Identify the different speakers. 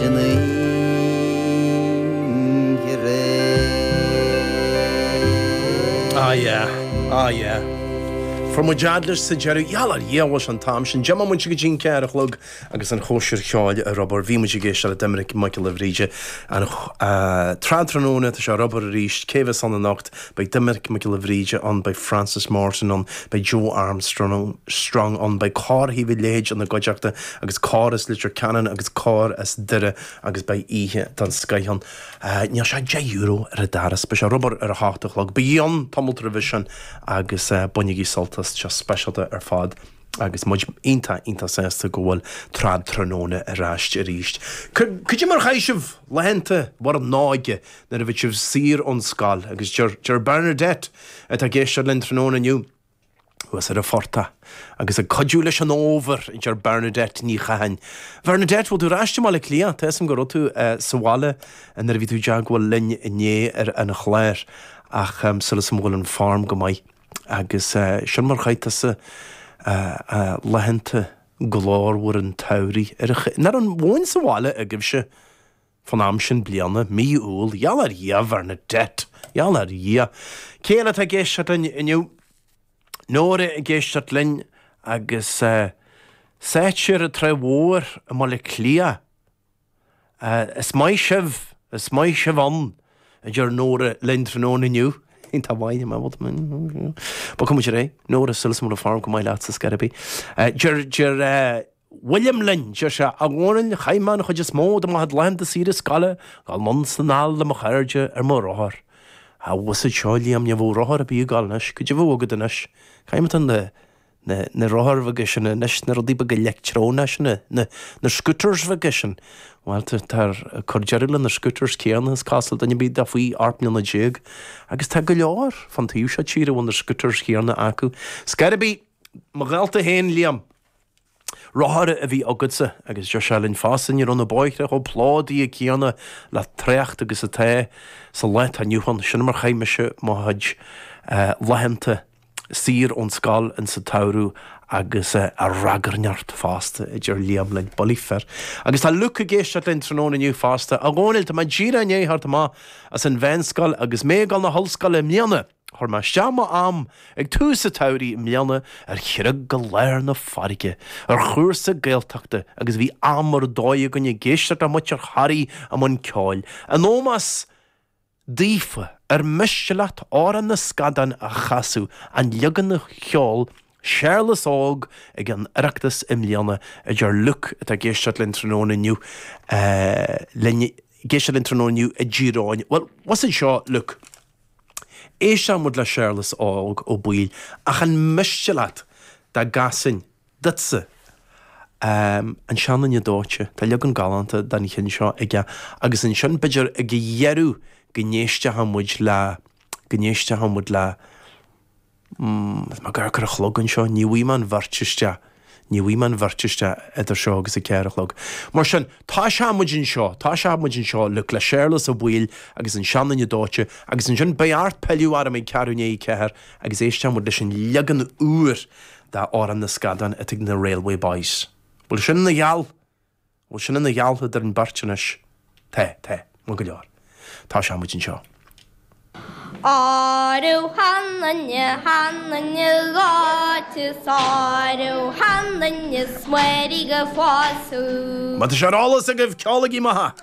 Speaker 1: san oíche aréir.
Speaker 2: Ah yeah, ah yeah. Fuair muid fhad leis sa deireadh. Gheall ar Dhia bhfuil sé an t-am sin. Deich mbomaite go dtí an ceathair a chlog agus an chóisir cheoil ar obair. Bhí muid ag éisteacht le Doiminic Mac Giolla Bhríde an tráthnóna. Tá sé ar obair arís. Cé bheas ann anocht? Beidh Doiminic Mac Giolla Bhríde ann, beidh Frances Morrison ann, beidh Joe Armstrong ann, beidh cór Thaobh an Leithid ina gcuideachta agus cór as Leitir Ceanainn agus cór as Doire agus beidh oíche den scoith ann. Níl sé €10 ar an doras, beidh sé ar obair ar a hocht a chlog. Bígí ann tamalt roimhe sin agus bainigí sult as, tá sé speisialta ar fad agus muid iontach, iontach sásta go bhfuil Tráthnóna ar ais arís. Cad é mar a chaith sibh laethanta bhur n-óige nuair a bhí sibh saor ón scoil agus deir, deir Bernadette atá ag éisteacht linn tráthnóna inniu, thuas ar an phortach agus ag cuidiú leis an fhómhar, a deir Bernadette Ní Chatháin. Bernadette, bhfuil tú ar ais i mBaile Átha Cliath? Tá 'fhios a'm go raibh tú sa bhaile nuair a bhí tú i dteagmháil linn inné ar an chlár ach súil agam go bhfuil an form go maith agus sin mar chaith tusa laethanta glórmhar an tsamhraidh. Ar an, nach raibh an mhóin sa bhaile agaibhse? Fán am sin bliana, mí Iúil, gheall ar Dhia, Bhernadette, gheall ar Dhia. Cé eile atá ag éisteacht linn inniu? Nóra ag éisteacht linn agus sáite ar an Trá Mhór i mBaile Átha Cliath. Is maith sibh, is maith sibh ann, a deir Nóra linn tráthnóna inniu. Tá maith, bogfaidh muid ar aghaidh. Nóra, súil agam go bhfuil an form go maith leatsa, scor ar bith. Deir, deir, William linn, deir sé, A Dhónaill, chaith mé an chuid is mó de mo chuid laethanta saoire scoile ag dul anonn 's anall le mo chairde ar mo rothar. Á, bhfuil 'fhios a'd seo, Liam, ní bheadh rothar ar bith ag gabháil anois. Cad é a bheadh agat anois? Caithfidh mé tá na, na, na rothair bheaga sin anois, na rudaí beaga leictreonacha sin, na, na, na scooters bheaga sin. Bhuel, tá, tá ag cur deireadh le na scooters céanna, is cosúil, duine ar bith atá faoi 18 mbliana. Agus tá go leor fán taobh seo tíre a bhfuil na scooters chéanna acu. Scor ar bith, mo ghalta féin, Liam. Rothar a bhí agatsa agus deir sé linn fosta ní raibh na bóithre chomh plódaithe céanna le trácht agus atá sa lá atá inniu ann. Sin mar chaith mise mo chuid laethanta saor ón scoil insa tsamhradh agus a ragairneacht fosta, a deir Liam linn. Bullaí fir. Agus tá Luke ag éisteacht linn tráthnóna inniu fosta. A Dhónaill, tá mé díreach i ndiaidh theacht amach as an mheánscoil agus mé ag dul na hollscoile i mbliana. Chuir mé isteach mo am ag tús an tsamhraidh i mbliana ar chreag i lár na farraige, ar chúrsa Gaeltachta agus bhí am ar dóigh againn ag éisteacht le muintir Thoraí i mbun ceoil. In ómós daofa, ar miste leat Amhrán na Scadán a chasadh, an leagan a cheol Séarlas Óg ag an Oireachtas i mbliana, a deir Luke atá ag éisteacht linn tráthnóna inniu, linn, ag éisteacht linn tráthnóna inniu i dTír Eoghain. Bhuel, what's it seo, Luke? Éisteann muid le Séarlas Óg Ó Baoill ach an miste leat dá gcasfainn duitse An Seanduine Dóite? Tá leagan galánta den cheann seo aige agus ansin b'fhéidir ag a dheireadh go n-éistfeadh muid le, go n-éistfeadh muid le. Tá mé gar ar a chlog anseo, ní bhfaighidh mé an bheirt isteach, ní bhfaighidh mé an bheirt isteach idir seo agus a 4 a chlog. Mar sin, tosóidh muid anseo, tosóidh muid anseo Luke, le Séarlas Ó Baoill agus an Seanduine Dóite agus ansin beidh ort pilleadh orm ag ceathrú i ndiaidh a ceathair agus éistfidh muid leis an leagan úr d'Amhrán na Scadán atá ag na Railway Boys. Bhfuil sin ina gheall? Bhfuil sin ina gheall idir an beirt anois? Tá, tá, maith go leor. Tosóidh muid anseo.
Speaker 3: Áireamh sheanduine, sheanduine dhóite 's áireamh sheanduine 's mairg a phásadh.
Speaker 2: Má tá sé ar eolas agaibh, ceolaigí amach!